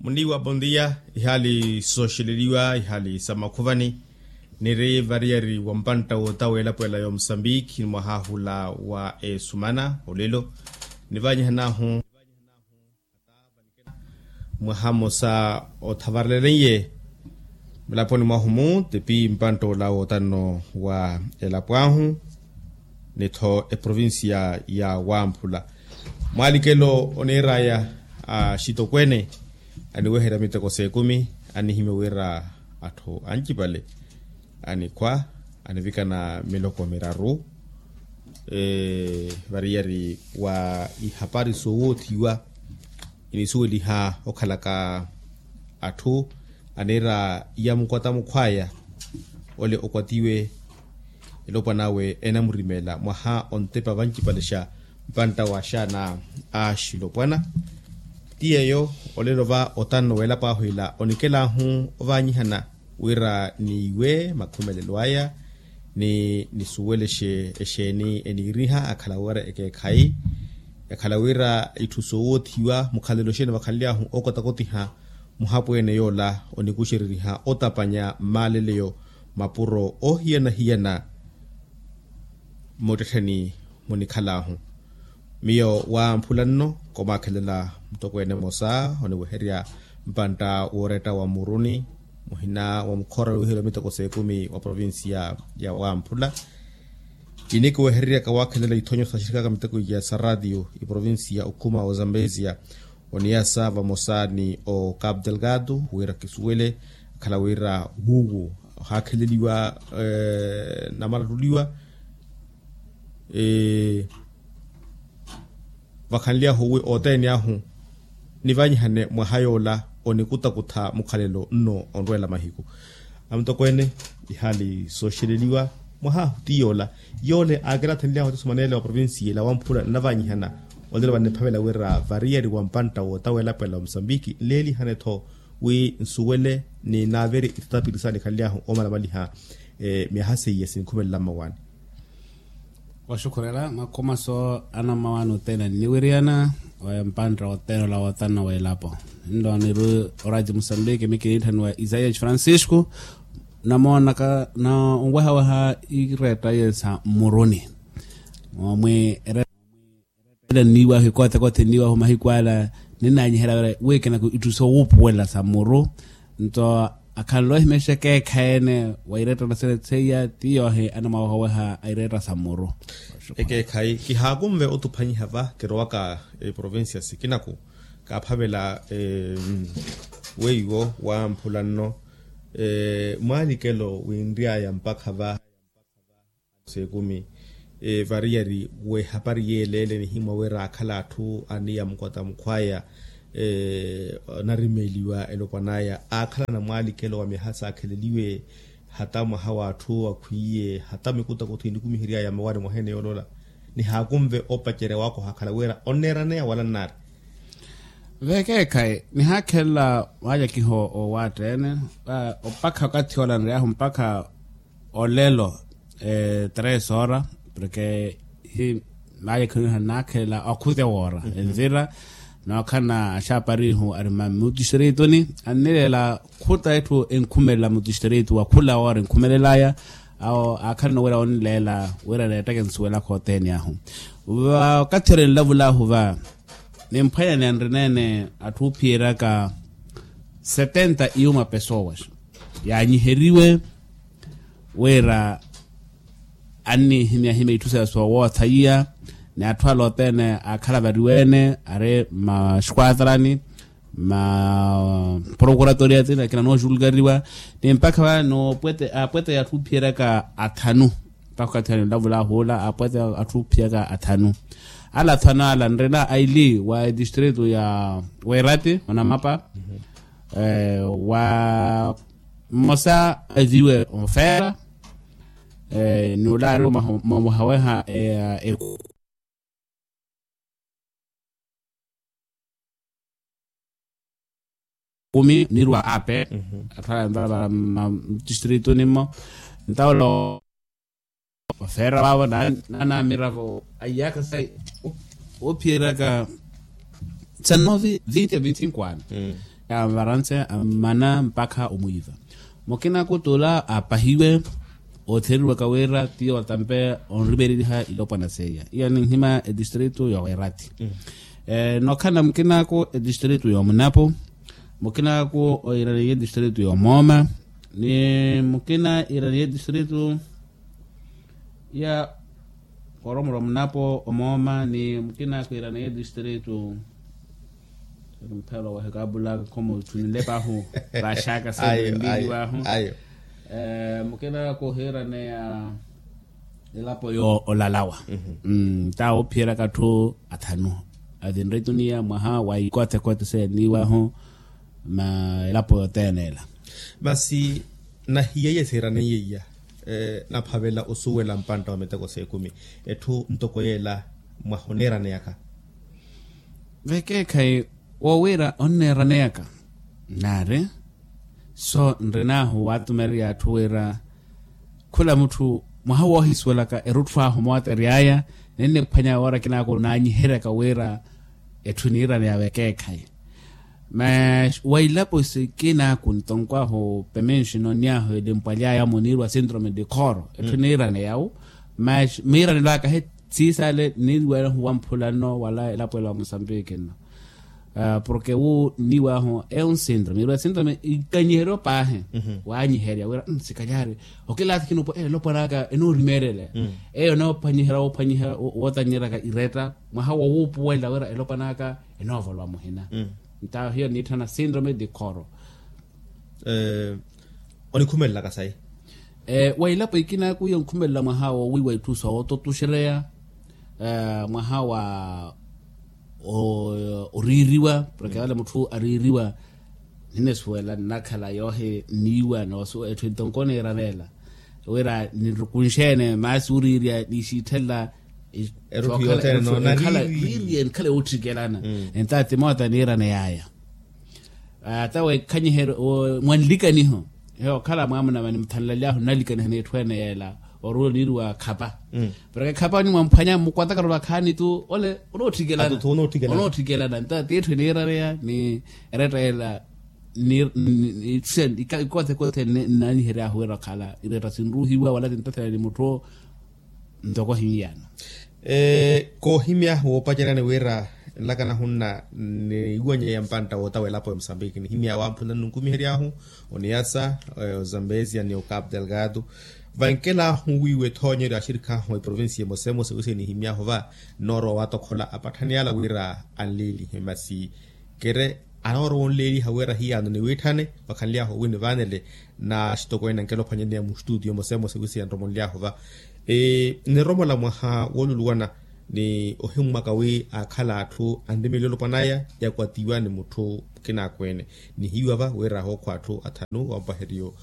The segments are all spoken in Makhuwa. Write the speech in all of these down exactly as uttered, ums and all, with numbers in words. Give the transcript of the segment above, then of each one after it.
Muniiwa bondia. Ihaali sooxeleliwa ihaali sa makhuvani. Niri variyari wa mpantta wootta weelapo ela ya omusambiki ni mwahaahula wa esumana olelo nivanyihanaahu mwaha mmosa othavarelenye mulaponi mwahu-mu tipi mpantta ola wootanno wa elapo ahu ni-tho eprovincia ya wamphula. Mwaalikelo oniir'aya axitokweene aniweherya miteko s'ekumi anihimya wira atthu ancipale anikhwa anivikana miloko miraru variyari wa ihapari soowothiwa inisuweliha okhalaka atthu aniira iyamukwata mukhwaya ole okwatiwe elopwan'awe enamurimela mwaha ontepa vancipalexa mpantta wa axaana a axilopwana. Ti yeeyo olelo va otanno w'elapo ahu ila onikel'ahu ovanyihana wira niiwe makhumelelo aya ni nisuwelexe exeeni eniiriha akhala wira ekeekhayi yakhala wira itthu soowothiwa mukhalelo exeeni vakhanly'ahu okotakotiha muhapweene yoola onikuxereriha otapanya mmaaleleyo mapuro oohiyana-hiyana. Mmuttittheni munikhal'ahu miyo wamphula nno komaakhelela mutokweene mmosa oniweherya mpantta wooretta wa mmuruni muhina wa mukhoora wiiheriwa miteko s'ekumi wa provincia ya wamphula. Kinikuwehereryaka waakhelela ithonyo saxirikaka miteko iya sa ratio iprovincia okhuma ozambesia oniyasa vamosa ni ocapu delgado wira kisuwele akhala wira wuwo ohaakheleliwa namalattuliwa vakhanly'ahu wi othene ahu nivanyihane mwaha yoola onikutakutha mukhalelo nno onrweela mahiku. Amutokweene ihaali sooxeleliwa mwaha ahu ti yoola yoole aakilathenly'ahu oti sumaneele wa provincia ila wamphula nnavanyihana olelo vaniphavela wira variyari wa mpantta woota weelapwela wa musambiki nleelihane-tho wi nsuwele ni naaverye ithatapiri saanikhanly'ahu omalamaliha myaha seiya sinkhumelela mmawaani. Waxukhurela makhumaso anammawaani othene anniwiriyana wa mpantta othene ola wootanna w'elapo nlo niri oraji musambiki mikiniitthaniwa isaias francisco namoonaka na onwehaweha ireetta ye sa mmuruni omwi erettela nniiwahu ekothekothe nniiwahu mahiku ala ninanyiherya wira wiikinako itthu soowuupuwela sa muru nto akhanle ohimya exekeekhayi ene wa irettela seiya ti yoohi anamwawehaweha a iretta sa muru. Ekeekhayi kihaakunve otuphanyiha va kirowaka eprovincia sikinaku kaaphavela weiwo wamphula nno mwaalikelo winry'aya mpakha va seekumi variyari w'ehapari yeeleele nihimwa wira aakhala atthu aniya mukwata mukhwaya anarimeeliwa elopwan'aya aakhala na mwaalikelo wa myaha saakheleliwe hata mwaha w'atthu akhwiiye hata mikutakutho inikumihery'aya mmawaani mwaha ene yooloola nihaakunve opacerya waakoha akhala wira onneeraneya wala nnaari. Vekeekhayi nihaakhelela waajakiha owaatta ene mpakha okathi ola nry'ahu mpakha olelo tres hora porke hi maayakhaniha nnaakhelela okhutya woora envira nookhala axaaparihu ari mami mutistrito-ni annileela khuta etthu enkhumelela mutistrito wa khula woora enkhumelel'aya awo aakhalana wira onleela wira neettaka ensuwelaka othene ahu. Vakathi ori enlavul'ahu va nimphwanyani anrineene atthu oophiyeryaka setenta iyuma pesoas yaanyiheriwe wira annihimyahimya itthu saya soowoothaiya ni atthu ala othene aakhala variweene ari mmaxuatrani mmaprokuratoria tina akina noojulgariwa ni mpakha vano apwete y'atthu ophiyeryaka athanu mpakha okathi ene nlavul'ahu ola apwete y'atthu ophiyeryaka athanu ala athanu ala nrina aili wa etistrito ya weerati onamapa wa mmosa aviwe ofeera ni olaari omahaweha eku kumi nirwa ape athala mtistrito nimmo ntawula ofeera waavo nanamira vo aiyaka sa ophiyeraka tsanno vinti a vinti cinko ano Avaranse ammana mpakha omwiiva. Mukina kutula apahiwe otheriwaka wira tiyo watampe onrimereriha ilopwana seiya iya ninhima edistritu yowerati. Nokhana mukinaku edistritu yomunapu, mukinaku oiraniye edistritu yomooma, ni mukina iraniye edistritu ya koromoro munapo omooma ni mukina akhwiirana ye distritu. Mphelo wahekabulaka khomo tunilepahu vaxaka sembili wahu. Mukina akhwiiraneya elapo yo olalawa. Tawo phiyeraka atthu athanu avinre tuniya mwaha wa ikothekothe seniwahu. Ma elapo yothene ela. Masi nahiya iya sihiraneiye iya naphavela osuwela mpantta wa miteko s'ekumi etthu ntoko yeela mwaha oneeraneyaka. Vekeekhayi wowira onneeraneyaka naari. So nrinaahu watumereya atthu wira khula mutthu mwaha woohisuwelaka erutthu ahu mootery'aya ninniphwanya woora kinaaku naanyiheryaka wira etthu eniiraneya vekeekhayi. Mas wa ilapo sikinaku ntonkw'ahu pemenxi nonniahu elimpwaly'aya muniirwa sintrome di khoro etthu eniiraneya wu. Mas miiranelo aka he siisale nniirw'enahu wamphula nno wala elapo ela wa musambiki nno. Porke wu nniiw'ahu eyo nsintrome irwa sintrome ikanyiheryo paahi. Wanyiherya wira sikalyari okilathi kinupo elopwan'aka enoorimeereleya. Eyo noophwanyiherya woophwanyiherya wootannyeraka iretta mwaha wowuupuwela wira elopwan'aka enoovolowa muhina. Nta hiyo niitthana sintrome di khoro. Onikhumelelaka sayi. Wa ilapo ikinaku iyo nkhumelela mwaha wowiiwa itthu soototuxereya mwaha wa oriiriwa porke wale mutthu ariiriwa. Ninisuwela nnakhala yoohi nniiwa noosuwa etthu entonko niiraneela wira nirukunxe-ene maasi oriirya nixiitthenla. Erutthu yothene noona riiriye nikhala yoottikelana. Entaati moota niiraney'aya. Tawe khanyiheryo mwanlikaniho eyo okhala mwaamuna vani muthanlaly'ahu nnalikaniha n'etthu ene yeela. Oruwo niiriwa khapa porke khapa nimwamphwanya mmukwataka vakhaani tu ole onoottikelana. Onoottikelana nta tiitthu eniirareya ni eretta ela. Ni ikothekothe nnaanyihery'ahu wira okhala iretta sinruuhiwa wala tintathela ni mutthu. Ntoko ohimyano koohimya woopaceryani wira nlaka nahunna niiwanyeya mpantta wootawa elapo ya musambiki nihimya wamphula nnunkumihery'ahu oniyasa ozambezia ni ocapo delgado. Vankel'ahu wiiwa ethoonyeryo ya axirikhi ahu eprovincia emosemosa wiise nihimy'ahu va nnoorowa waatokhola apatthani ala wira anleelihe masi kere anoorowa onleeliha wira hiyano niwiitthane wakhanly'ahu owini vaanele. Naaxitokweene ankela ophwanyaneya muxtutiyo emosemosa wiise yanromonly'ahu va nniromola mwaha wooluluwana ni ohimmwaka wi aakhala atthu anrimeeliwa olopwan'aya yakwatiwa ni mutthu mukinaakweene nihiiwa va wira ahookhwa atthu athanu wampaheryo.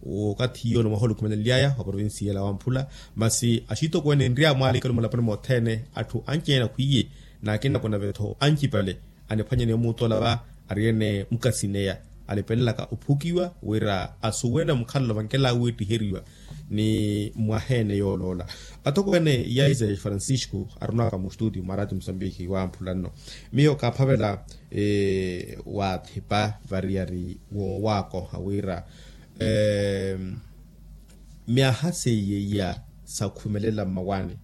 Okathi iyo ni mwaha olikhumelenly'aya wa provincia ela wamphula masi axitokweene enry'awe mwaalikelo mulaponi mothene atthu anci-ene akhwiiye n'akina kunave-tho ancipale aniphwanyane omuutola va ariyene mukasineya alipelelaka ophukiwa wira asuwele mukhalelo vankela wiittiheriwa ni mwaha-ene yooloola. Atokweene yaiza ya francisco arunaka muxtuti mwa rati musambiki wamphula nno miyo kaaphavela waathipa variyari woowaakoha wira myaha seiye iya sakhumelela mmawaani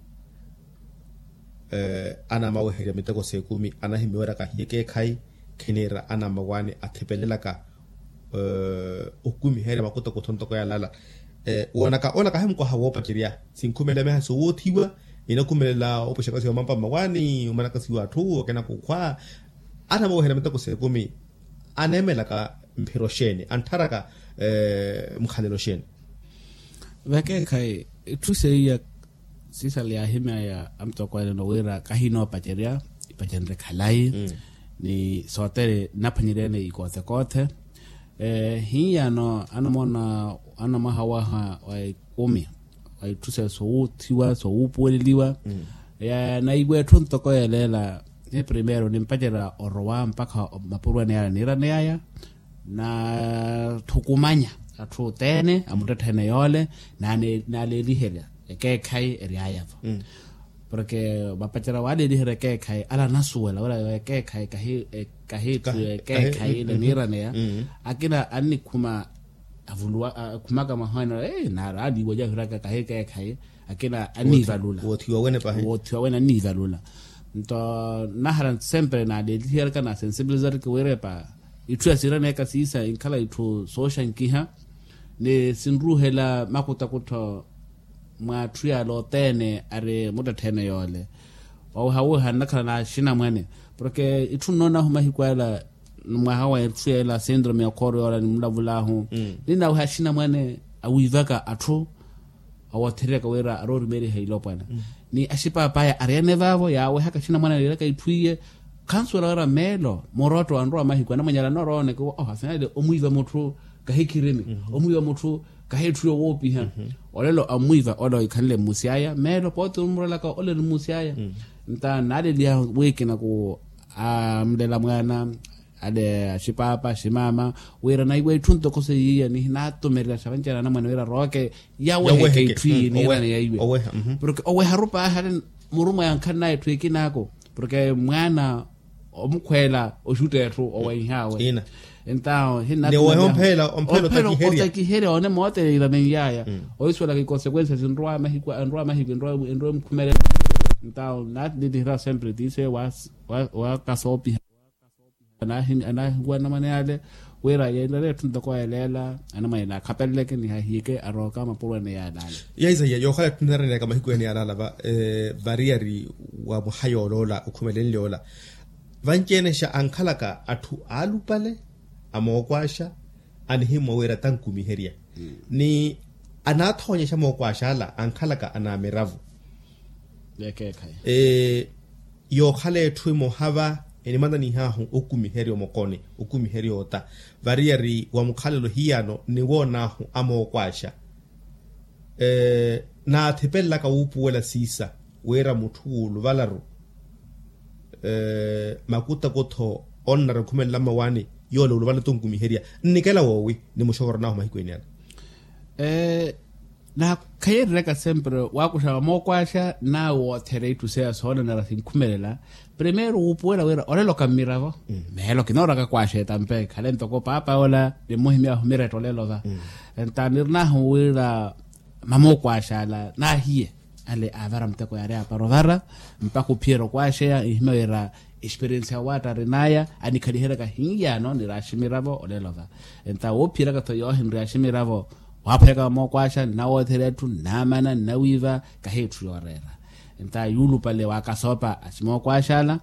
anamaweherya miteko s'ekumi anahimya wira kahiye ekeekhayi khiniira anamawaani athipelelaka okumiherya makutokutho ntoko yalala woonaka ola kahi mukoha woopacerya sinkhumelela myaha sowoothiwa inakhumelela opuxaka siwa mampa mmawaani omanaka siwa atthu akina kukhwa anamaweherya miteko s'ekumi aneemelaka mphiro xeeni anttharaka mukhalelo xeeni. Vekeekhayi itthu seiya siisala yaahimy'aya amutokweene no wira kahinoopacerya ipacenrye khalayi ni sothene nnaphwanyeryene ikoothekothe. Hiyano anamwaha waha wa ikumi wa itthu sowuuthiwa sowuupuweleliwa yanaiwa etthu ntoko yeleela ni primeiro nimpacerya orowa mpakha mapurwene yale niiraneyaya. Natthukumanya atthu othene amuttetthene yoole naaleeliherya ekeekhayi ery'aya-vo. Porke mapacerya waaleliherya ekeekhayi ale anasuwela wira ekeekhayi kahi etthu ekeekhayi ile niiraneya. Akina annikhuma akhumaka mwaha ene naari aniiwajahiraka kahi ekeekhayi. Akina anniivalula woothiwa wene anniivalula. Nto nahara sempre naaleliheryaka naasensibilizariki wira epa itthu ya siiraneyaka siisa inkhala itthu sooxankiha ni sinruuhela makutakuttho mwa atthu yaala othene ari muttettheene yoole. Wawiha wiha nnakhala na axinamwane porke itthu nnoonahu mahiku ala mwaha wa itthu yeela sindrome ya okhooro yoola nimulavulahu. Ninnawiha axinamwane awiivaka atthu awoothereryaka wira aroorimeeriha ilopwana ni axipaapaaya ariyene vaavo yaawehaka axinamwane areeraka itthu iye. Khansuwela wira meelo murotto anrowa mahiku anamwanyala anorooneke afinale omwiiva mutthu kahi khirimi omwiiva mutthu kahi etthu yowoopiha. Olelo ammwiiva ole oikhanle mmusi aya meelo pooti omurelaka ole ni mmusi aya. Nta naaleliha wiikina ku amlela mwaana ale axipaapa aximaama wira naiwa itthu ntoko seiya nihinatumererya xavancerya anamwane wira arooke yaweheke itthu iyi niirane yaiwe. Porke oweharu paahi ale murumwa yankhannaye etthu ekinaako porke mwaana omukhweela oxutta etthu oweihaawe. Entawo hinnaoweha omphela omphela otakiherya one moote iranenyaaya. Ohisuwelaka ikonsekwensia sinrowa mahiku enrowa mahiku enrowa emukhumelela. Entawo naatitihira sempre tiise wa kasoopiha anaahiwa anamwane ale wira yeelele etthu ntoko yeeleela anamwane naakhapeleleke nihahiyeke arooka mapuro ene yaalaala. Yaisaiya yookhala etthu niraneryaka mahiku ene yaalaala variyari wa mwaha yooloola okhumelenle ola vanci-ene xa ankhalaka atthu aalupale amookwaxa anihimmwa wira tankumiherya ni anaathoonyexa mookwaxa ala ankhalaka anaamiravo. Yookhala etthu emoha va enimananihahu okumiherya omokoni okumiherya ota variyari wa mukhalelo hiyano niwoonaahu amookwaxa naathipelelaka wuupuwela siisa wira mutthu wuuluvalaru makutakutho onnara okhumelela mmawaani yoola uluvala tunkumiherya nnikela woowi nimuxokoronaahu mahiku ene ala. Naakhayeeryaka sempre waakuxa vamookwaxa nawe woothereya itthu seya soonanara sinkhumelela. Primeiro wuupuwela wira olelo ka mmiravo meelo kinooraka kwaxa etampe khale ntoko paapa ola nimmuhimy'ahu miretta olelo va. Nta nirinahu wira mamookwaaxa ala naahiye ale aavara muteko yaari aapara ovara mpakha ophiyerya okwaaxeya nhimya wira experiensia ya waatta arin'aya anikhaliheryaka hinyaano niri aximiravo olelo va. Enta woophiyeraka-tho yoohinrya aximiravo waaphweyaka mamookwaaxa nnawoothera etthu nnamana nnawiiva kahi etthu yooreera. Enta yuulupale waakasoopa aximookwaaxa ala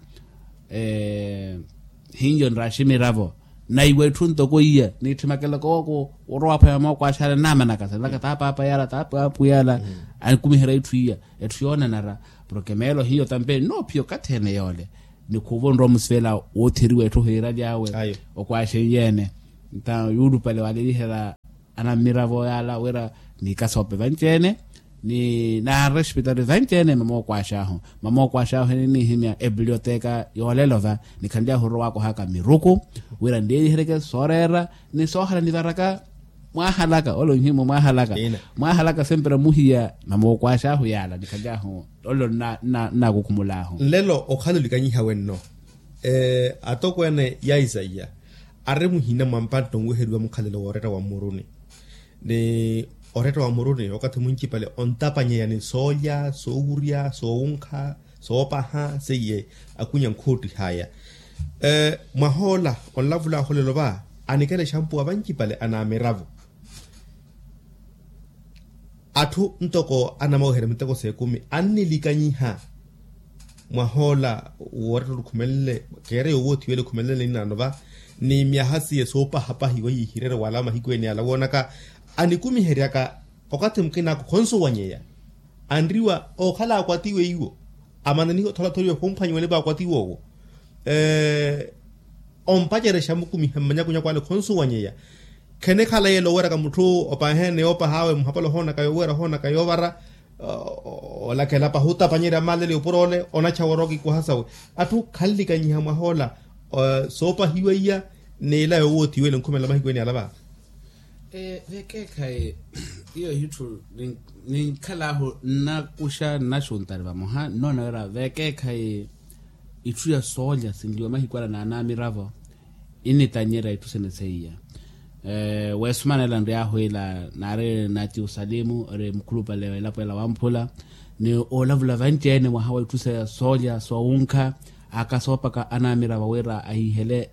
hinyo nraximiravo naiwa etthu ntoko iya niitthimakela kooko orowa aphwaya mookwaaxala naamanakasa nlaka taapaapa yala taapwapwi yala anikumiherya itthu iya etthu yoonanara. Porke meelo hiyo tampe nnoophiya okathi ene yoole nikhuuva onrowa musivela wootheriwa etthu hiiraly'awe okwaaxenyeene. Nta yuulupale waaleliherya anammiravo yaala wira niikasoope vanci-ene ni naarespitari vanci-ene mamookwaax'ahu mamookwaax'ahu eniniihimya epilyoteka yoolelo va nikhanly'ahu orowaakohaka miruku wira nleeliheryeke sooreera ni soohala nivaraka mwaahalaka ole onhimwa mwaahalaka mwaahalaka sempre muhiya mamookwaax'ahu yaala nikhanly'ahu ole nnaakukhumul'ahu. Nlelo okhala olikanyiha wenno atokweene ya isaiya ari muhina mwa mpantta onweheriwa mukhalelo w'oretta wa mmuruni ni oretta wa mmuruni okathi muncipale ontapanyeya ni soolya soowurya soowunkha soopaha seiye akwinya nkhuuttih'aya. Mwah'ola onlavul'ahu olelo va anikela exampuwa vancipale anaamiravo atthu ntoko anamaweherya miteko s'ekumi annilikanyiha mwah'ola woorettela okhumelenle keere yoowoothiwela okhumelenle ninaano va ni myaha siye soopahapahiwa yiihirerya wala mahiku ene ala woonaka anikumiheryaka okathi mukinaaka okhonsuwanyeya anriwa ookhala akwatiwe iwo amananihe otholatholiwa khumphwanyiwa nipo akwatiwe owo ompacerexa mukumiha mmanyakunyaku ale khonsuwanyeya khenekhala yeela oweraka mutthu opaheene yoopaha awe muhapala ohoonaka yoowera ohoonaka yoovara olakela pahi otapanyerya malele opura ole onachawa orooka ikwaha sawe atthu khanlikanyiha mwah'ola soopahiwa iya n'ila yoowothiwele nkhumelela mahiku ene ala va. Vekeekhayi iyo ihitthu ninkhal'ahu nnakuxa nnaxuntari vamoha nnoona wira vekeekhayi itthu ya soolya sinliwa mahiku ala n'anamiravo. Initannyerya itthu sene seiya. Weesumanela nriyaahu ila naari nati osalimu ori mukhulupale w'elapo ela wamphula ni oolavula vanci-ene mwaha wa itthu sa soolya soowunkha. Aka soopaka anamiravo wira ahihele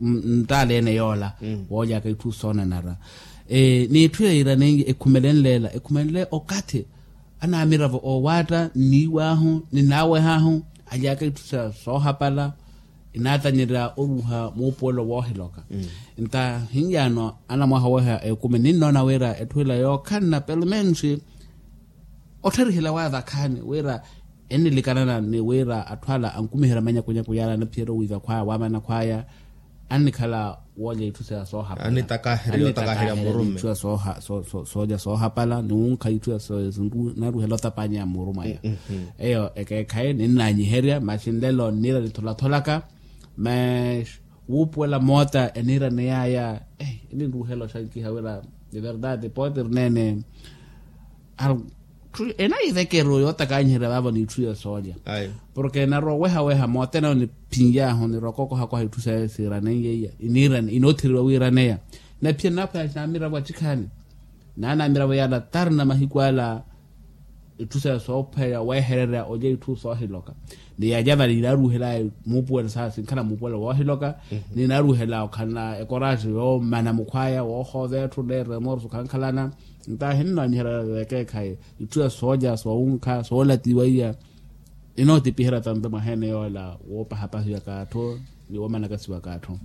nttaala ene yoola woolyaka itthu soonanara. N'itthu ya iraneiye ekhumelenle ela ekhumelenle okathi anamiravo oowaatta nniiw'ahu ni naaweh'ahu alyaka itthu sa soohapala. Inaatanyerya oruuha muupuwelo woohiloka. Nta hinyaano anamwaha oweha ekumi ninnoona wira etthu ila yookhanna pelomensi otthariherya waavakhaani wira ennilikanana ni wira atthu ala ankumiherya manyakunyaku yaala anaphiyerya owiiva khwaya waamana khwaya. Annikhala woolya itthu sa soohapala annitakaherya itthu ya soolya soohapala ni wunkha itthu ya naruhela otapanya muuru mwaya. Eyo ekeekhayi ninnaanyiherya masi nlelo nniira nitholatholaka. Mas wuupuwela moota eniiraney'aya eninruhela oxankiha wira de verdade pode ri neene. Enayivekeru yootakanyiherya vaavo n'itthu ya soolya. Porke narowa owehaweha mootene awo niphin'yahu nirowa okokohakoha itthu saye siiraneiye iya inoottheriwa wiiraneya. Naphiya nnaphwaya namiravo acikhaani naanamiravo yaala tarina mahiku ala. Itthu saye soophweya wehererya olya itthu soohiloka ni yalya vale inaaruhela muupuwelo saasi nkhala muupuwelo woohiloka. Ni inaaruhela okhalana ekoraaxi yoomana mukhwaya woohoova etthu neererya mooroso khankhalana. Ntahi nnoonyiherya vekeekhayi itthu ya soolya soowunkha soolatiwa iya. Inootipiherya tampe mwaha ene yoola woopahapahiwaka atthu ni woomanakasiwaka atthu.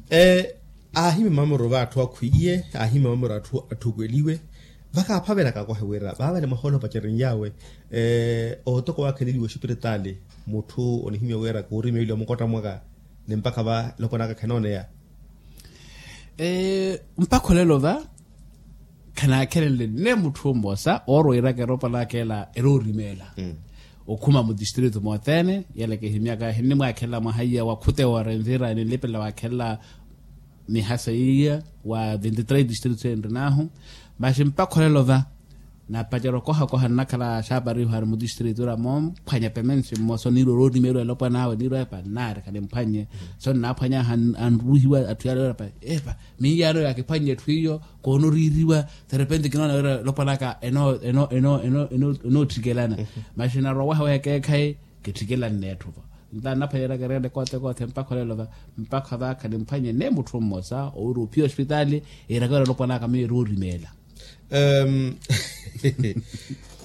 Aahimya mamoro vaatthu akhwiiye aahimya mamoro atthu atthukeliwe. Vakaaphavelaka akohe wira vaavale mwaha ole opacerenyawe ootoko waakheleliwe oxipiritaali mutthu onihimya wira kuurimeeliwa mukotta mwaka ni mpakha va elopwan'aka khenooneya. Mpakha olelo va khanaakhelenle nne mutthu mmosa oorwiiraka eropwan'aka ela eroorimeela okhuma mudistritu mothene. Yela kihimyaka hinnimwaakhelela mwaha iya wa khutewa orenvira ninlipelela waakhelela mihasa iya wa vinti três distritu enrin'ahu. Masi mpakha olelo va napacerya okohakoha nnakhala xaapariho ari mudistritu ira moomphwanya pemensi mmosa oniirwa oroorimeeliwa elopwan'awe oniirwa epa nnaari khanimphwannye. So nnaaphwany'aha anruuhiwa atthu yaale wira epa minyaano yaakiphwannye etthu iyo koonoriiriwa. Derepente kinoona wira elopwan'aka enoottikelana. Masi narowa owehaweha ekeekhayi kittikelanne etthu vo nta nnaphwanyeraka ereene kothekothe mpakha olelo va mpakha va khanimphwanye nne mutthu mmosa owira ophiya ospitaali. Iiraka wira elopwan'aka miyo eroorimeela.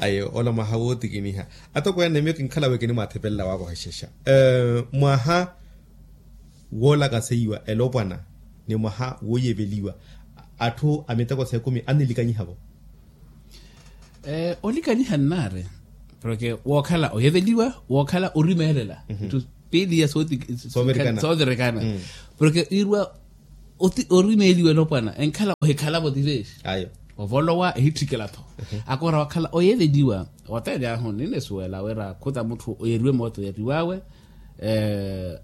Ayo ola mwaha wootikiniha atokweene miyo kinkhala wi kinimwaathepelela waakohexexa mwaha woolakaseiwa elopwana ni mwaha wooyeveliwa atthu a miteko s'ekumi annilikanyiha-vo. Olikanyiha nnaari porke wookhala oyeveliwa wookhala orimeelela itthu piili ya soovirikana porke iirwa orimeeliwa elopwana enkhala ohikhala-vo ti veesi ovolowa ehitthikela-tho. Akora wakhala oyeveliwa oteene ahu ninisuwela wira khuta mutthu oyeriwe mooto oyeriw'awe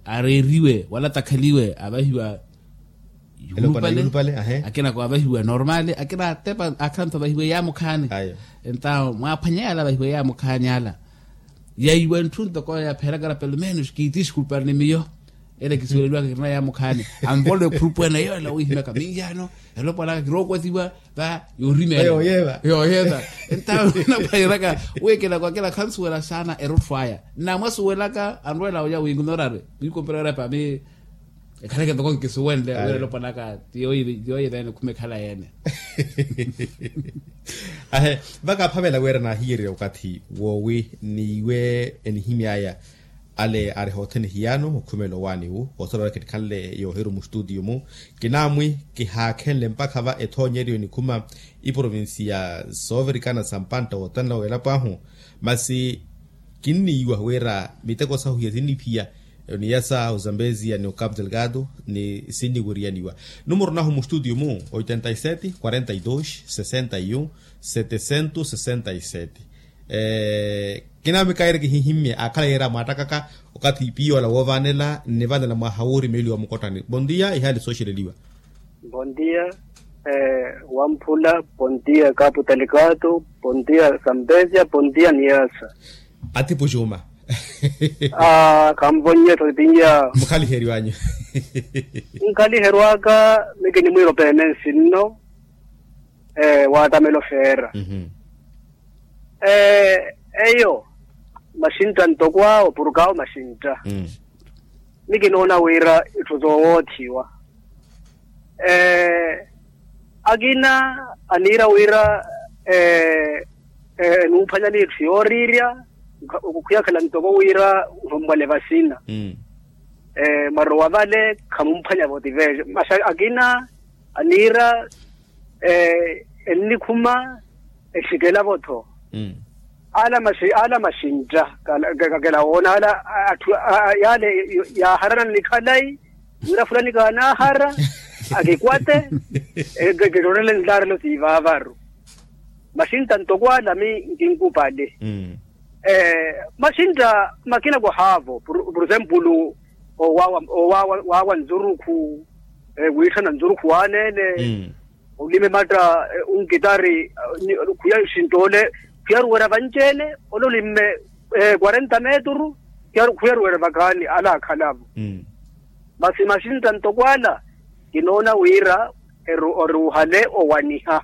areeriwe wala atakhaliwe avahiwa yuulupale. Akina ko avahiwa normale akina atepa akhala nthu avahiwa eyaamukhaani. Entawo mwaaphwanya yaala avahiwa eyaamukhaani ala yaiwa ntthu ntoko yapheerakara pelo menos kiitiskulpari ni miyo. Ele kisuweleliwaka kirina yaamukhaani anvolo ekhurupweene yoola wiihimyaka minyaano elopwan'aka kirookwatiwa va yoorimeela yooyeeva. Entawo naphwanyeraka wiikinako akina khansuwela saana erottho aya nnamwasuwelaka anrweela olya wiinkunoorari wiikompererya pami. Ekhaleke ntoko nkisuwenle wira elopwan'aka ti yooyeveene khumekhala yeene. Ahe vakaaphavela wira naahiyererya okathi woowi n'iwe enihimy'aya ale ari hothene hiyaano okhumela owaani wu osolowela kinikhanle yoohiru mustutiyo-mu. Kinaamwi kihaakhenle mpakha va ethoonyeryo enikhuma iprovincia soovirikana sa mpantta woottanela w'elapo ahu masi kinniiwa wira miteko sahu hiya sinniphiya oniyasa ozambezia ni ocapo delgado ni sinniweriyaniwa. Numero nahu mustutiyo-mu oitenta e sete quarenta e dos sessenta e um setecentos sessenta e sete. Kinaamwi kairi kihihimmye aakhala yeera mwaattakaka okathi ipiyoola woovaanela nnivaanela mwaha woorimeeliwa mukottani bondia ihaali sooxeleliwa. Bondia. Wamphula. Pontia kapu talikato. Pontia sampesia pontia niyasa. Atipu juma. Khanvonye tho tinya. Mukhaliheriwanyu. Nkhaliherwaka. Mikinimwiro pene nsinno. Watamelo feera. Eyo maxintta ntoko awo purukaawo maxintta. Ni kinoona wira itthu zoowoothiwa. Akina aniira wira enumphwanyani itthu yooriirya. Okhwiyakhala ntoko wira nhommwale vasina. Mwarowa vale khamumphwanya-vo tivejo masi akina aniira ennikhuma exikela-vo-tho. Ala maxintta kakela woona ala atthu yaale yaaharana ni khalayi wira fulani kaanaahara akikwate. Kiroorele nlaarelo siivaavaru maxintta ntoko ala mi nkinkupale. Maxintta makina kohaavo por exemplo owaawa nzurukhu wiitthana nzurukhu waaneene. Olime matta onkitari khwiya xintoole khwiya ruwerya vanci-ene ole olimme quarenta meturu khwiya ruwerya vakhaani ala akhala-vo. Masi maxintta ntoko ala kinoona wira oruuhale owaniha.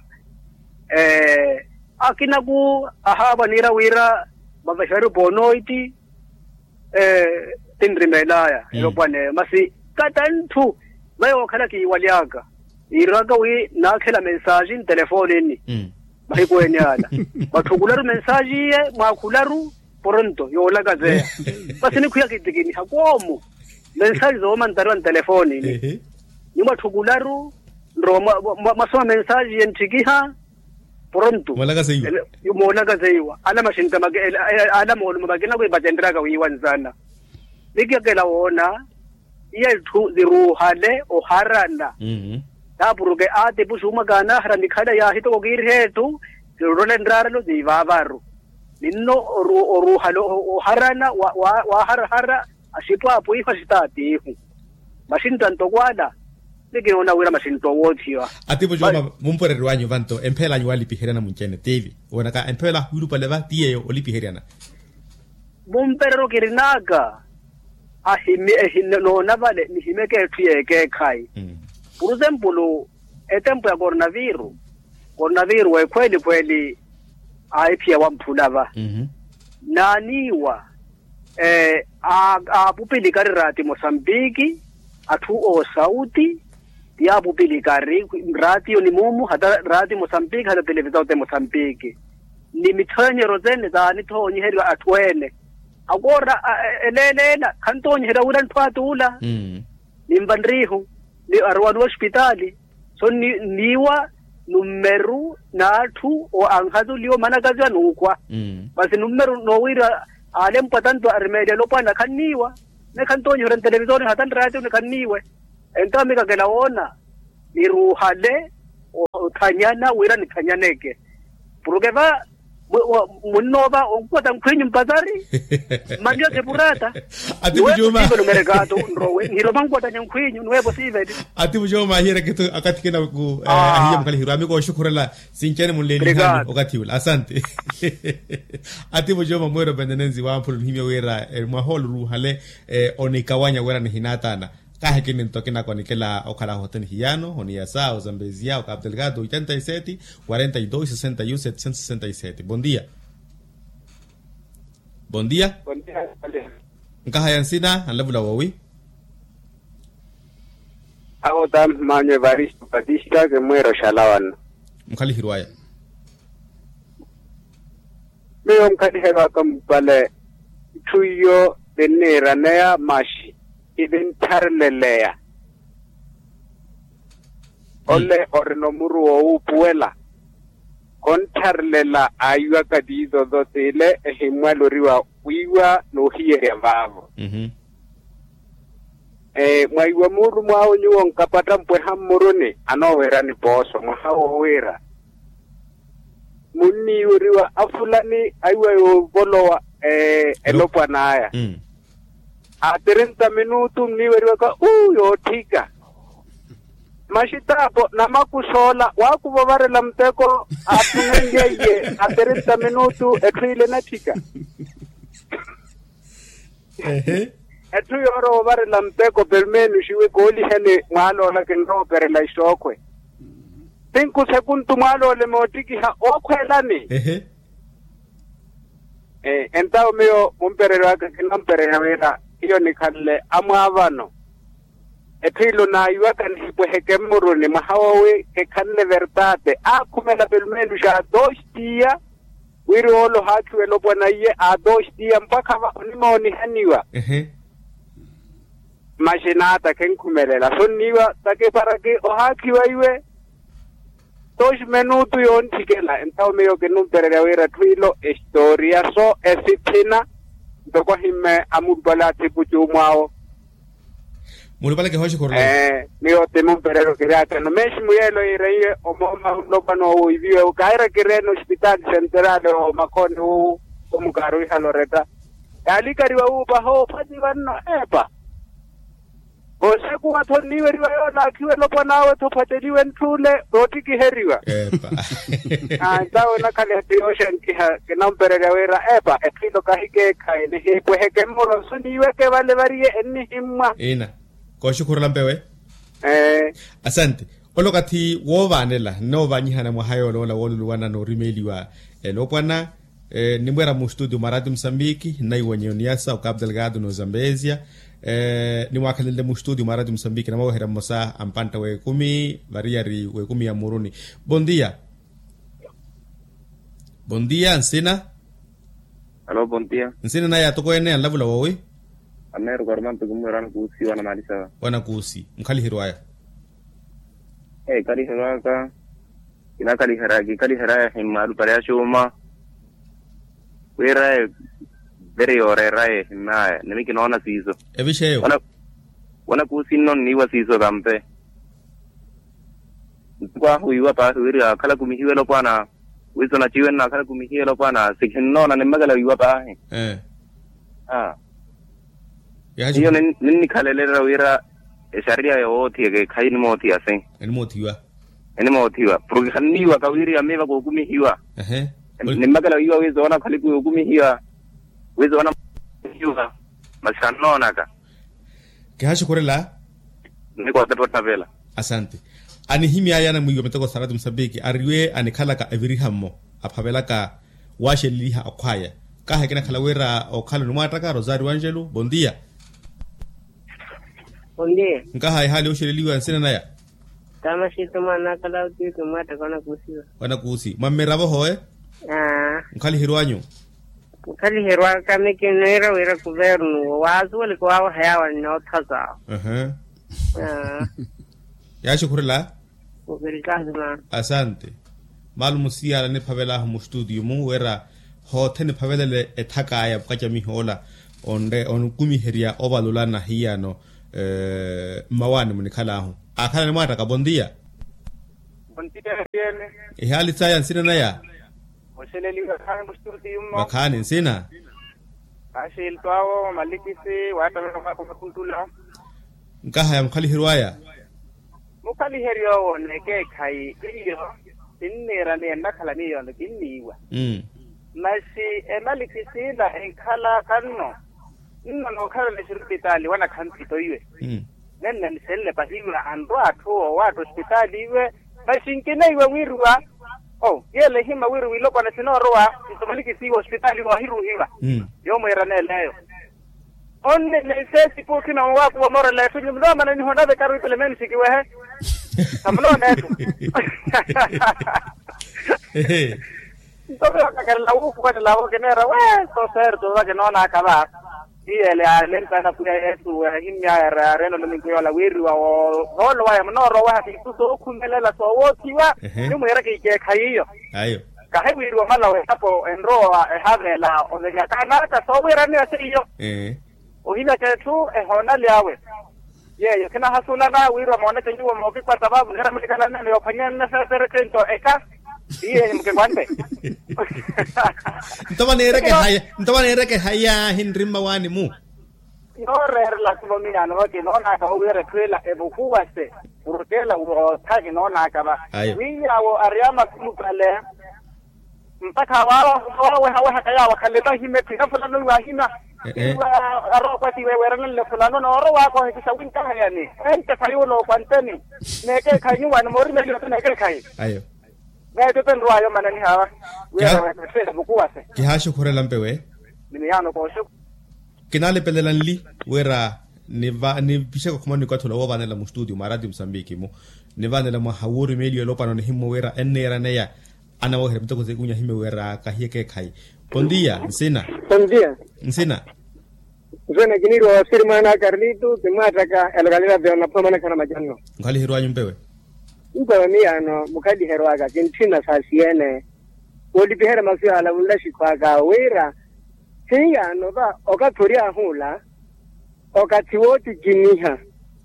Akinaku ahaavo aniira wira vavaheriwe poonoiti tinrimelaya elopwaneyo masi katantthu. Vayo okhala kiiwaly'aka iiraka wi naakhela mensaaji ntelefoonini mahiku ene ala. Mwatthukularu mensaaji iye mwaakhularu poronto yoolakazeya. Masi nikhwiya kitikiniha koomu mensaaji zoomantariwa ntelefoonini. Ni mwatthukularu nrowa mwasoma mensaaji iye ntthikiha poronto moolakaseiwa. Ala maxintta ala moolumo makina kwipacenryaka wiiwa nzana. Nikiyakela woona iye itthu ziruuhale oharana. Taapuruke aatipu xuuma kaanaahara nikhala yaahitoko kiiriha etthu. Kiroorele nraarelo siivaavaru ninno oruuhale oharana waaharahara. Axipwaapwiihu axitaatiihu maxintta ntoko ala. Ni kinoona wira maxintta owoothiwa. Atipu jooma mumpereryo anyu vanto empheela anyu walipiheryana munci-ene tiivi woonaka empheela ahwiilupale va ti yeeyo olipiheryana. Mumpereryo kirin'aka ahimi noona vale nihimeke etthu y'ekeekhayi. Por exemplo etempo ya coronaviru coronaviru ekhweeli khweeli aahiphiya wamphula va naaniiwa. Aapupilikari raati mosambiki atthu oosauti ti aapupilikari raatiyo ni muumu hata raati mosambiki hata televisao te mosambiki ni mithoonyeryo sene saanithoonyiheriwa atthu ene. Akoora eleeleela khantoonyiheriwa wira ntthu atuula. Ninva nriihu ni aruwaliwa ospitaali so nniiwa nummeru n'atthu anhazuliwa omanakaziwa n'ukhwa. Masi nummeru noowiira aalempwa tanto arimeeliwa elopwana khanniiwa. Ni khantoonyiheriwa ntelevisoni hata nraatiyo ni khanniiwe. Entawo mikakela woona niruuhale othanyana wira nithanyaneke. Puruke va munnoova onkukwata nkhwinyu mpasari. Mmanniyo thepurata atipucuma. Numerekato nrowe nihiroma nkukwatanya nkhwinyu nuweepo siiveti. Atipucuma ahiyereke tu akathi kinaku ahiya mukhalihiru ami kooxukhurela. Sinci-ene munleelihanyu okathi ula asante. Atipucuma mweero pendenensi wamphula onihimya wira mwaha ole oruuhale onikawanya wira nihinaatana. Kaahikini nto kinako nikela okhala hote nihiyano oniyasa ozambezia okapu delgado oitenta y sete quarenta y dos sesenta y un setecientos sesenta y sete bon dia. Bon dia. Nkahaya nsina anlavula woowi? Awo tampi manyu evaristo patista kimwira oxala wano. Mukhalihiru aya. Miyo mukhaliherwaka mupale itthu iyo ninniiraneya maxi kininthareleleya. Ole orina omuru woowuupuwela. Konttharelela aiwaka tiizozo tiile ehimmwaloriwa wiiwa n'uhiyerya vaavo. Mwaiwa muulumwaawe nyuwo nkapatta mpweha mmuruni anoowerani pooso mwaha woowiira munniiweriwa afulani aiwa yoovolowa elopwan'aya. A trenta minutu nniiweriwaka uu yootthika. Maxitaapo namakusoola waakuva ovarela muteko. Aathumenlyeiye a trinta minutu etthu ile enatthika. Etthu yoorowa ovarela muteko perumenuxiwe kooliheni. Mwaaloola kinrooperela ixookhwe. Tinku sekuntu mwaaloola emoottikiha ookhweelani. Entawo miyo mumpererya waka kinampererya wira hiyo nikhanle amwaavano. Etthu ilo naayiwaka nihipweheke mmuruni mwaha woowi kekhanle vertate aakhumela pelumenuxa aatooxitiya. Wiri oolo ohaakhiwa elopwana iye aatooxitiya mpakha va onimoonihaniwa. Maxinaata khenkhumelela sonniiwa takiparaki ohaakhiwa iwe. Toxi minutu yoonthikela entawo miyo kinumpererya wira etthu ilo estoriya so esithina. Ntoko ahimme amulupale athipu cuumwaawo. Mulupale kihooxi khurula. Miyo timumpererya okiryaakano meximu yeelo yiireiye omooma onlopwana owiiviwe kaira kireene ospitaali senterale omakhooni wowu. Omukaaru ihaloretta yaalikariwa wuupaha ophatiwa nno. Epa. Voosekuwa-tho nniiweriwa yoolaakhiwa elopwan'awe-tho ophateliwe ntth'ule. Noottikiheriwa. Entawe onakhaliha ti yooxankiha kinampererya wira epa etthu ilo kahikeekhayi nihipweheke mmuro nsu niiweke vale variye ennihimmwa. Ina. Kooxukhurula mpewe. Asante. Ole okathi woovaanela nnoovanyihana mwaha yooloola wooluluwana noorimeeliwa elopwana. Nnimweera mustutio mwa raati musambiki nnaiwonye oniyasa okapu delgado n'ozambezia. Nimwaakhalenle mustutio mwa raati musambiki namwaweherya mmosa a mpantta w'ekumi variyari w'ekumi ya mmuruni. Bontia. Bontia nsina. Alo bontia. Nsina naya atokweene anlavula woowi. Ameeroko arumampe kumwira wanakuusi wanamaalisa. Wanakuusi mukhaliheryo aya. Ee kaliheryo aka. Kinakaliherya kikaliherya ehimmaalu pale axuuma. Wira eye veri yooreera ehimmaya nimi kinoona siiso. Evixa eyo. Wanakuusi nno nniiwa siiso kampe. Ntuku ahu wiiwa paahi wiri akhala kumihiwa elopwana. Wiiso naciwe nnaakhala kumihiwa elopwana sikhinnoona nimmakela wiiwa paahi. Hiyo ninnikhalelera wira exariya yoowoothiya keekhayi enimoothiya se. Enimoothiwa. Enimoothiwa porke khanniiwaka wiri yamiiva kookumihiwa. Nimmakela wiiwa wiiso woonakhaliku yookumihiwa. Wiiso woona. Masi khannoonaka. Kihaaxukhurela. Nnikootepa ottapela. Asante. Anihimy'aya anamwiiwa miteko saarati musambiki ariwe anikhalaka eviriha mmo aphavelaka waaxeleliha akhw'aya. Kaha ekinakhala wira okhala onimwaattaka rosario angelo bontia. Nkaha ehaali yooxeleliwa nsina naya. Tamaxitu mwaana akhala autiuti mmwaattaka wanakuusiwa. Wanakuusi mwa mmiravo howe. Nkhaliheryo anyu. Nkhaliheryo aka mikinniira wira kuvernu waasuweleke waaweha yaawo annoothasaawo. Yaaxukhurela. Asante. Malumu siyaala niphavel'ahu mustutio-mu wira hoothe niphavelele ethak'aya mukacamih'ola onre onikumiherya ovalula na hiyano. Mmawaani munikhal'ahu aakhala animwaattaka bontia. Ihaali saya nsina naya. Oxeleliwa khaani mustutio-mu. Vakhaani nsina. Axilto awo malikisi waattavela mwaakho makhuntula. Nkaha ya mukhaliheryo aya. Mukhaliheryo owo n'ekeekhayi iyo. Kinniira miyo ennakhala miyo kinniiwa. Masi emalikisi ila enkhal'aka nno. Nno nookhala nixirupitaali wanakhanthito iwe. Nenne nisenle pahiwa anrwa atthu oowaatta ospitaali iwe. Masi nkineiwa wiiriwa. Oo yeela ehimma wiri wilopwana sinoorowa. Nto malikisi iwe ospitaali iwe ohiruuhiwa. Yoomwiiran'eleyo. Onne neseesi puukhina owakuwa moorela etthu nyumu noomana nihonave karu ipelemeeni sikiwehe. Khamunoona etthu. Nto vakakelela wuukuwanelavo kineera weeso seerto vakinoonaka va. Iyele alempana pwiya yesu ahimmyaya areena olominku yoola wiiriwa. Oolo waya munoorowa waha kiisu sookhumelela soowoothiwa. Nimwiira kiikeekhayi iyo. Kahi wiiriwa omala w'ehapo enrowa ehaveela ovenyaka anaata soowiiraniwa seiyo. Ohinyaka etthu ehoonali awe. Yeeyo khinahasulana wiira mooneke nyuwo mookikwata vaavu nira mulikananene yoophwanyana nneseeserekento eka. Iye mukikwante. Nto vaneereke haya nto vaneereke haya ahinri mmawaani-mu. Nooreerela khulomiyano va kinoonaka owiira etthu ela evukuwase. Purukela wootha kinoonaka va. Ayo. Wi yaawo ari amakulupale. Mpakha waawehawehaka yaawo akhale vahima etthu ina fulano iwaahima. Iwa arookwatiwe weerananle fulano noorowa akohekisa winkahayani. Ente khayuula okwanteni. Neekeekhayi nyuwaani moorimeliwa ti neekeekhayi. Ayo. Neetepe nrwaayo mananihawa. Wira weetthu ela evukuwase. Kihaaxukhurela mpewe. Ni miyaano kooxuku. Kinaalipelela nli wira nipixeke okhumana onikathi ola woovaanela mustutio mwa ratio musambiki-mu. Nivaanela mwaha woorimeliwa elopano nihimmo wira enneeraneya. Anawoherya miteko seekunya himmo wira kahiye keekhayi. Pontiya nsina. Pontiya. Nsina. Nsina kiniiriwa wasiri mwaana a karlito kimwaattaka elokalera vyoona phomanekha na macanno. Nkhaliheryanyu mpewe. Mpewe miyaano mukhaliheryo aka kintthina saasi-ene. Woolipiherya masu yaala wunlaxikhu aka wira hiyaano va okathi oryaahu ola. Okathi wootikiniha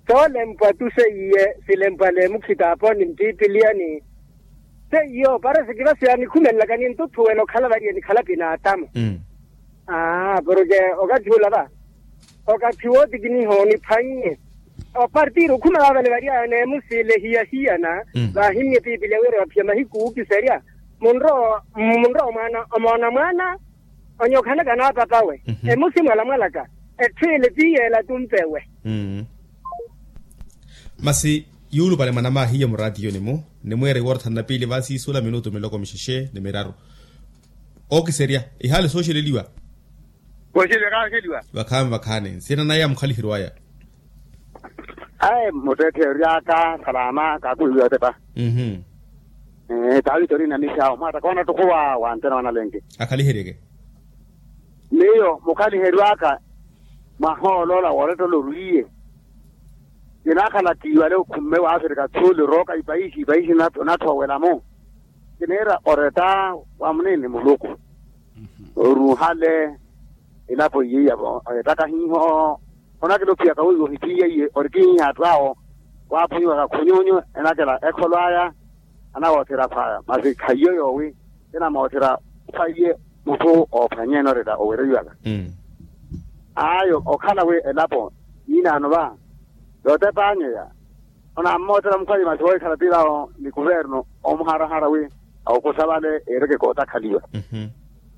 soolempwa tu seiye silempwa leemukhitaaponi mpipiliyani. Seiyo parasi kivasi yanikhumelelaka nintuthuwela okhala variye nikhala pinaatamu. Aa porke okathi ula va okathi wootikiniha oniphwannye. Opartiri okhuma vaavale variyaya neemusiile hiyahiyana. Vaahimmye piipiliya wira vaphiya mahiku ookiserya munrowa munrowa mwaana omoona mwaana. Onyokhanaka n'apapawe emusi mwalamwalaka etthu ile ti yeela tumpewe. Masi yuulupale mwanamaahiye muraatiyoni-mu nimwiire iworotha nnapiili vaasiisuula minutu miloko mixexe ni miraru. Ookiserya ihaale sooxeleliwa. Kooxeliwa kaaxeliwa. Vakhaani vakhaani nsina naya mukhaliheryo aya. Ayi muttetthe ory'aka salama kaakuhiwa otepa. Taaviti ori na mixaawo mwaata koona ttukuwa wantena wanalenke. Akhaliheryeke. Miyo mukhaliheryo aka mwaha oloola woorettela orwiiye. Kinaakhala kiiwale okhumme waafirika tsuuli orooka ipaixi ipaixi. Onatthu owela-mu kiniira oretta wa munini muluku. Oruuhale elapo iye ya oyettaka hiiho. Onakela ophiyaka wiiwa ohiphiye iye ori kihiha atthu awo. Waaphunyiwaka khunyunyu enakela ekholo aya. Anawoothera phwaya masi khahiyo yoowi kinamoothera phwaiye mutthu oophwanyeene oretta owereiwaka. Ayo okhala wi elapo yiinaano va yootepanya eya. Onammootela mukhwaiye masi woohikhala tiilawo ni kuvernu omuharahara wi awukusa vale ereke kootakhaliwa.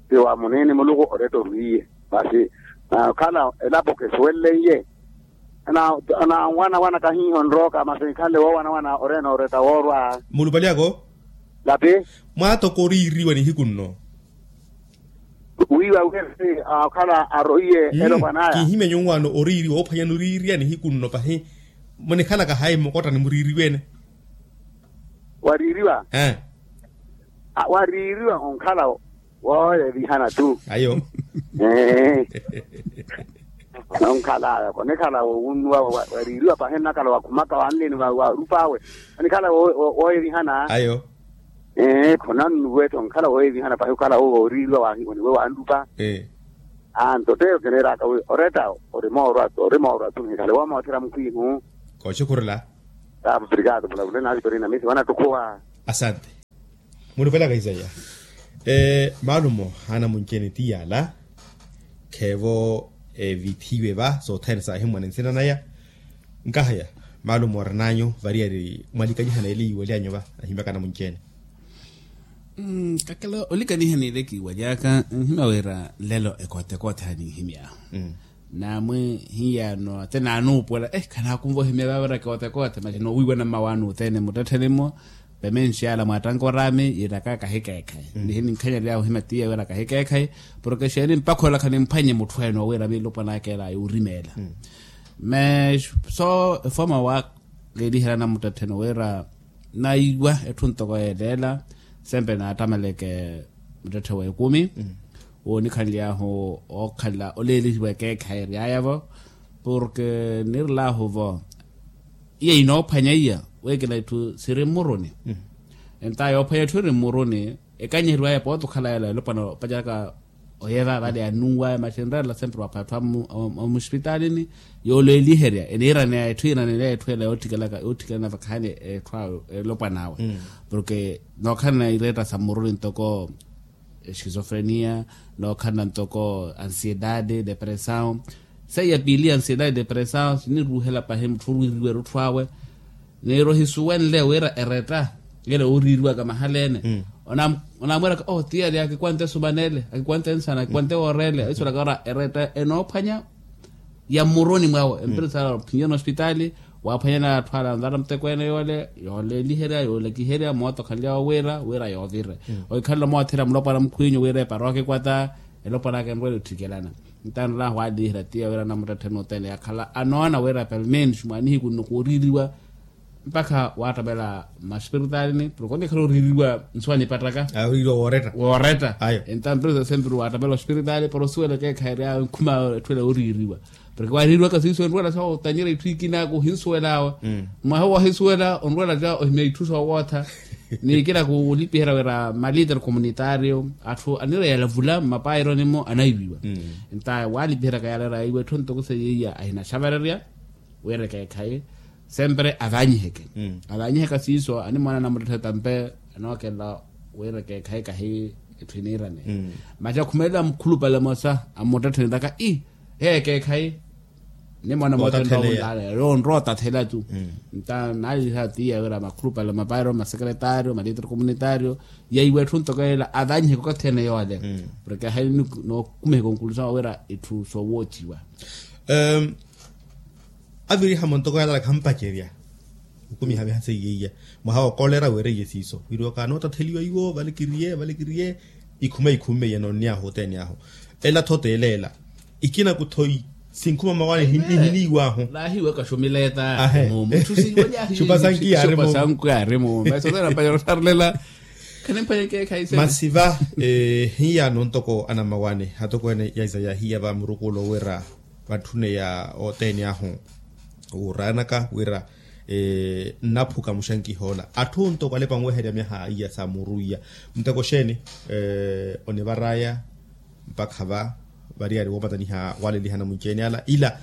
Ti wa munini muluku oretta orwiiye masi okhala elapo kisuwelenye. Onanwanawana kahiiho nrooka masi nkhanle woowanawana oreena oretta woorwa. Mulupali ako. Lapi. Mwaatoko oriiriwa nihiku nno. Wiiwa wiri okhala aroiye elopwanaya. Kiihimya nyuwaano oriiriwa oophwanyani oriiriya nihiku nno pahi. Munikhalaka hayi mmukottani muriiriweene. Wariiriwa. Wariiriwa onkhala wooyevihana tu. Ayo. Ee. Nonkhalaya konikhala wowunnuwa wariiriwa pahi nnakhala wakhumaka wanleni warup'awe. Onikhala wooyevihana. Ayo. Ee khonannuwa etthu onkhala wooyevihana pahi okhala wooriiriwa waniwe wanrupa. Anto t'eyo kineeraka wi oretta ori moorwa tu nihikhale woomootherya mukhwiihu. Kooxukhurela. Taapa obrigado mulavule navitorina misi wanattukhuwa. Asante. Mulupelaka isaya. Maalumo anamunci-ene ti yaala. Kheevo evithiwe va sothene saahimwa ni nsina naya. Nkahaya maalumo orinanyu variyari mwalikanyihana ele yiiwalyanyu va ahimyaka anamunci-ene. Kakela olikaniha n'ile kiiwalyaka nhimya wira nlelo ekootekoothe aninhimy'ahu. Naamwi hiyaano ate naanuupuwela khanaakunva ohimya vaavira kootekoothe masi noowiiwana mmawaani othene muttetthe-ni-mo. Pemenxi yaala mwaattanka oraami yiiraka kahikeekhayi nihininkhanyaly'ahu ohimya tiya wira kahikeekhayi. Porke exeeni mpakha ola khanimphwanye mutthu ene owiira miilupwan'aka ela yoorimeela. Masi so efooma wa keeliherya namuttettheni wira naiwa etthu ntoko yeeleela. Sempre naattameleke muttetthe w'ekumi woonikhanly'ahu ookhala oleelihiwa ekeekhayi ery'aya-vo. Porke nirel'ahu-vo iya inoophwanya iya weekela itthu siri mmuruni. Enta yoophwanya etthu iri mmuruni ekanyiheriw'aya pooti okhala ela elopwana opaceraka oyeeva vale annuw'aya masi enreerela sempre wapha atthu amusipitalini. Yoolweeliherya eniiraneya etthu yiiraneya etthu ela yoottikelana vakhaani etthu awe elopwan'awe. Porke nookhalana ireetta sa mmuruni ntoko esquizofrenia nookhalana ntoko ansiedade depressão. Seiya piili ya ansiedade depressao siniruuhela pahi mutthu oriiriwa erutthu awe. Niiro ohisuwenle wira eretta yela ooriiriwaka mahala ene. Onamwiraka oh tiya ri akikwante esumanele, akikwante ensana, akikwante woorele ahisulaka ora eretta enoophwanya ya mmuruni mwawe empresa ala ophinyana ospitali. Waaphwanyana atthu ala anvara muteko ene yoole yooleeliherya yoolekiherya mooto okhanly'awe wira wira yoovire. Ohikhalelo moothela mulopwana mukhwinyu wira eparoka ekwata elopwan'aka enrwela otthikelana. Ntaani olaha waaliihira tiya wira anamuttettheni othene yakhala anoona wira pelmeni xumwaanihiku nno kooriiriwa. Mpakha waattapela maspiritalini porke onnikhala oriiriwa nsuwa nipattaka. Oriiriwa wooretta. Wooretta. Ayo. Entaani mperu sasempiri waattapela ospiritali para osuwela ekeekhayi eri awe nkhuma etthu ela yooriiriwa. Porke waariiriwaka siiso enrwela sa otanyerya itthu ikina akohinsuwel'awe. Mwaha woohisuwela onrwela ca ohimya itthu soowootha. Ni ikina kulipiherya wira malitre communitario atthu anireya yalavula mmapaironi-mo anaiwiwa. Nta waalipiheryaka yala eri aiwa etthu ntoko seiya iya ahinaxavererya wira ekeekhayi sempre avanyiheke. Avanyiheka siiso animwaana anamuttetthe tampe anookelela wira ekeekhayi kahi etthu iniirane. Masi akhumelela mukhulupale emosa amuttetthe niraka i heya ekeekhayi. Nimwaana moothene onrowa otathela tu. Nta naaleliha tiya wira makhulupale mapairo masekretario malitre communitario yaiwa etthu ntoko ela avanyiheke okathi ene yoole. Porke ahayi nookumiheka onkulusawa wira itthu soowoothiwa. Aviriha-mo ntoko yalala khampacerya. Okumiha viha seiya iya mwaha wookolera weereiye siiso wiriwaka anootatheliwa iwo vale kiriye vale kiriye. Ikhuma ikhumme iye noonniy'ahu othene ahu ela-tho t'ela ela. Ikina kuthoi sinkhuma mawaani ihiniiw'ahu. Naahiwaka xumileta. Ahe. Mumu itthu siiwanya xupa sanki yaari mumu. Masi othene ampanyera ottharulela. Khanimpanya ekeekhayi sene. Masi va hiyaano ntoko anamawaani atokweene ya isa yaahiya va murukulo wira vatthune ya othene ahu. Wuuraanaka wira nnaphuka muxankiha ola atthu ntoko alepa anweherya myaha iya sa muru iya. Muteko xeeni onivar'aya mpakha va variyari woopataniha waaleliha anamwinci-ene ala ila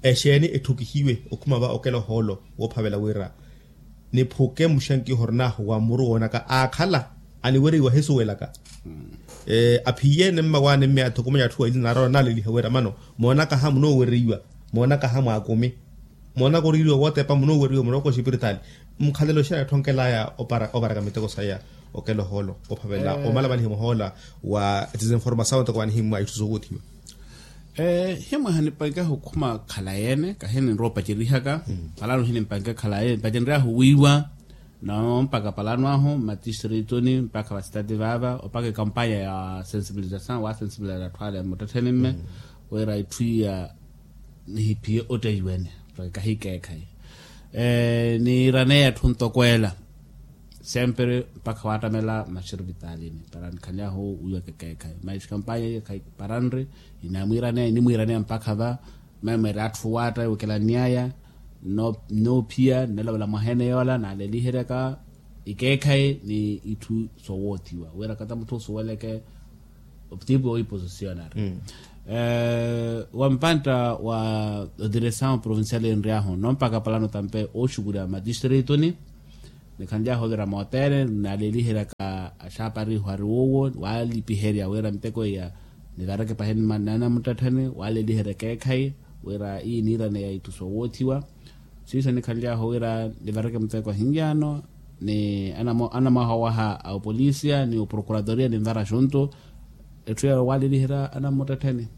exeeni etthukihiwe okhuma va okela ohoolo woophavela wira niphuke muxankiho orin'ahu wa muru woonaka aakhala aniwereiwa ahisuwelaka. Aphiye-ene mmawaani mme athukumanya atthu aili naarala naaleliha wira mano moonakaha munoowereiwa moonakaha mwaakumi moonaka oriiriwa wootepa munoowereiwa murooko oxipiritali. Mukhalelo xeeni atthonkel'aya oparaka miteko saya okela ohoolo ophavela omalamaliha muhoola wa etizinformasawu ntoko vanihimmwa itthu soowothiwa. Himwe hanipankeha okhuma khalayi-ene kahi ninrowa opacerihaka. Palano hinipanke khalayi-ene pacenryahu wiiwa. Noo mpaka palano ahu mmatistrito-ni mpaka vasitati vaava opaka ekampanya ya sensibilizasaw waasensibiliza atthu ale mmuttettheni mme wira itthu iya nihiphiye otteiwene. Mpaka kahikeekhayi niiraneya atthu ntoko ela sempre mpakha waattamela maxirvitalini para nikhanly'ahu wiiwaka ekeekhayi maxi kampanya iya khayi para nri. Inamwiiraneya inimwiiraneya mpakha va mmemweerya atthu waatta ewekelani aya. Nnoophiya nneelovela mwaheene yoola naaleliheryaka ikeekhayi ni itthu soowoothiwa wira kata mutthu osuweleke. Otipu owiposicionari wa mpantta wa odiresaw provincial enry'ahu nno mpaka palano tampe ooxukurya matistrito-ni. Nikhanly'ahu ovira moothene naaleliheryaka axaapari iho ari woowo waalipiherya wira miteko iya nivareke pahi ni anamuttettheni waaleliherya ekeekhayi wira iyi niiraneya itthu soowoothiwa. Siiso nikhanly'ahu wira nivareke muteko ahinly'ano ni anamwaha owaha a opolisia ni oprokuratoria ninvara xuntu etthu yawe waaleliherya anamuttettheni.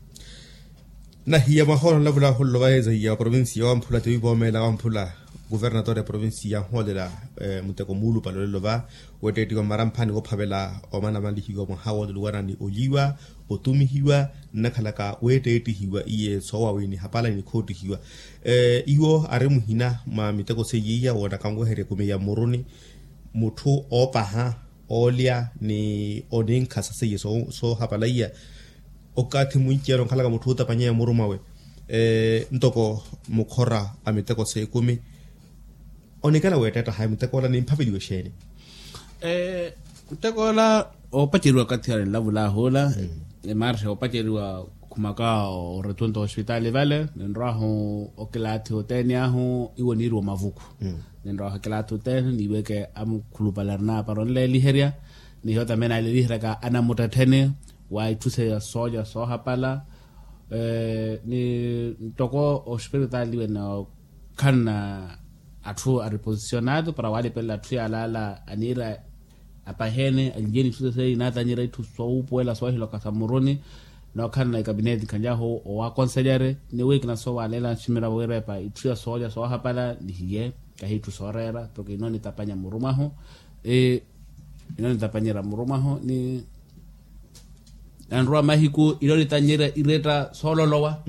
Nahiya mwaha ola nlavula ahulelo vaheeza hiya wa provincia wamphula tiwipoomela wamphula kuvernatori ya provincia yanhoolela muteko muulupale olelo va weetteettiwa mmaramphani woophavela omanamalihiwa mwaha wooluluwana ni olyiwa otumihiwa nnakhalaka weetteettihiwa iye soowawiiniha pala ni nikhoottihiwa. Iwo ari muhina mwa miteko seiya iya woonaka anweherya ekumi ya mmuruni mutthu oopaha oolya ni oninkha saseiye soohapala iya. Okathi mwinci yale onkhalaka mutthu ootapanyeya muru mwawe ntoko mukhora a miteko s'ekumi. Onikela weetteetta hayi muteko ola nimphaveliwe exeeni? Muteko ola oopaceriwa okathi ale nlavulaahu ola. Emarxa oopaceriwa khumaka oretunta ospitali vale ninrwahu okilaathi othene ahu iwo niiriwa omavuku. Ninrwahu okilaathi othene niiweke amukhulupale arina apara onleeliherya. Nihiyo tamene aaleliheryaka anamuttettheni wa itthu seiya soolya soohapala. Ni ntoko ospiritaali wene okhanna atthu a reposicionado para walipelela atthu yalaala aniira apaheene alinjeni itthu sesei naatanyerya itthu sowuupuwela soohiloka sa mmuruni. Nookhanna ekapineti nkhanyahu owakonselere ni wiikina soowaleela nximiravo wiirepa itthu ya soolya soohapala nihiye kahi itthu sooreera. Porke ino nitapanya mmuru mwahu ino nitapanyerya mmuru mwahu ni nanrowa mahiku ino nitanyerya iretta soololowa.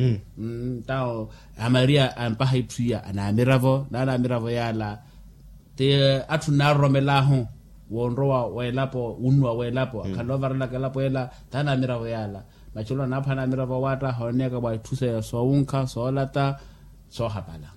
Tawo amaria ampaha itthu iya anaamiravo naanaamiravo yaala ti atthu nnaroromelaahu wonrowa welapo wunnuwa welapo akhala ovarelaka elapo ela. Taanaamiravo yaala machelo anaaphana amiravo awaatta hooneyaka wa itthu seya soowunkha soolata soohapala.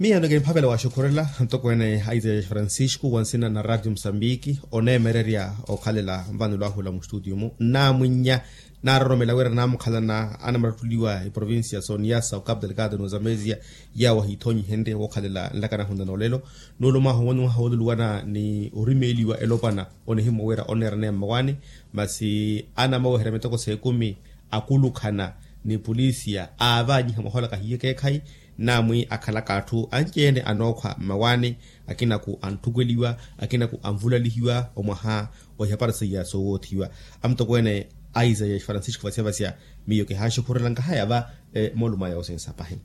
Miyo nto kiniphavela waxukhurela ntoko ene a isaya francisco wa nsina na radio musambiki oneemererya okhalela nvano lwahula mu studio mu nnaamwinnya naaroromela wira naamukhalana anamarattuliwa eprovincia soniyasa okapu delegado nozamesia yawo ahiithonyihenrye wookhalela nlaka nahunla noolelo. Nuulo mwaha owo ni mwaha wooluluwana ni orimeeliwa elopwana onihimwa wira oneerane mmawaani masi anamaweherya mitoko s'ekumi akulukhana ni polisia aavanyiha mwahola kahiye keekhayi. Naamwi akhalaka atthu anci-ene anookhwa mmawaani akinaku anttukweliwa akinaku anvulalihiwa omwaha ohipara seiya soowoothiwa. Amutokweene a isaya francisco vasya vasya miyo kihaaxukhurela nkahaya va moolumo aya osinsa pahi.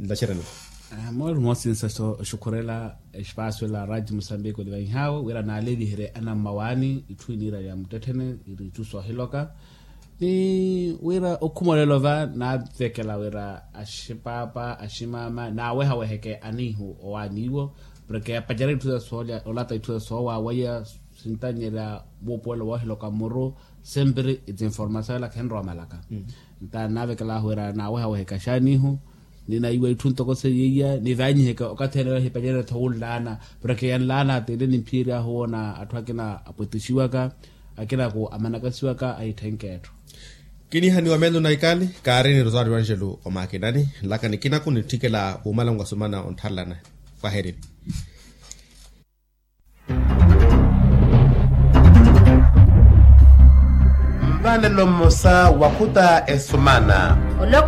Nlacerani moolumo osinsa oxukhurela espasio ela radio musambiki olivanyihawe wira naaleeliherye anammawaani itthu iniira ya muttetthene iri itthu soohiloka. Ni wira okhuma olelo va naavekela wira axipaapa aximama naawehaweheke aniihu owaaniiwo porke apacerya itthu sa soolya olata itthu sa soowawaiya sintanyerya wuupuwelo woohiloka mmuru. Sempre eti informasayo ela khenrowa malaka nta naavekelaahu wira naawehaweheke axaaniihu ni naiwa itthu ntoko seiya iya nivaanyiheke okathi ene yo ahipacerya-tho wunlaana porke yanlaana tele nimphiyeryahu woona atthu akina apwetixiwaka akinaku amanakasiwaka ahitthenke etthu. Kinihaniwa meelo na ikali kaari ni rosario angelo omakinani nlaka nikinaku nitthikela wuumalangu asumana onttharelana. Kwaherini. Mvanelo mmosa wakhuta esumana. Oloko